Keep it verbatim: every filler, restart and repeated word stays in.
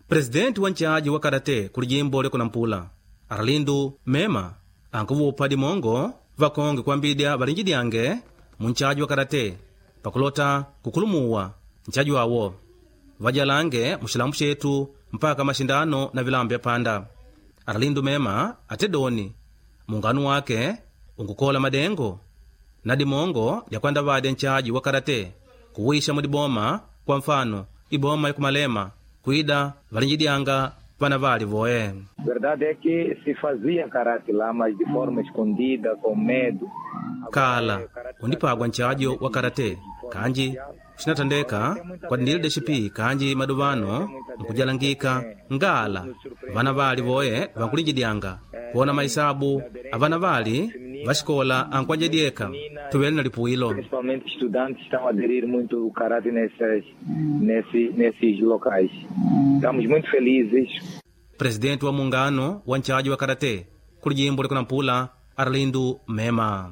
Presidenti wa nchaji wa karate kuli jimbo lya kunampula Arlindo Mema ankuvupa dimongo vakonge kwambidya valinjidyange mu nchaji wa karate pakulota kukulumuwa nchaji wawo vajalange muxilambu xetu mpaka maxindano na vilambo vya panda. Arlindo Mema ate doni mungano wake unkukola madengo na dimongo lyakwandavadya nchaji wa karate kuwisha mudiboma, kwa mfano iboma yakumalema kuida valinjidyanga vana vali voe. Verdade é que se fazia karate lá, mas de forma escondida, com medo. Kala undipagwa nchajo wa karate kanji xinathandeka kwadindile D X P kanji maduvano nkujalangika ngala vana vali voye vankulinjidyanga kuona maisabu avana vali vaxikola ankuanjedyeka tuvele na lipuwilo. Principalmente estudantes estão a aderir muito o karate nessas, nesse, nesses locais. Estamos muito felizes. Presidenti wa mungano wa nchaji wa karate kuli jimbo likunampula Arlindo Mema.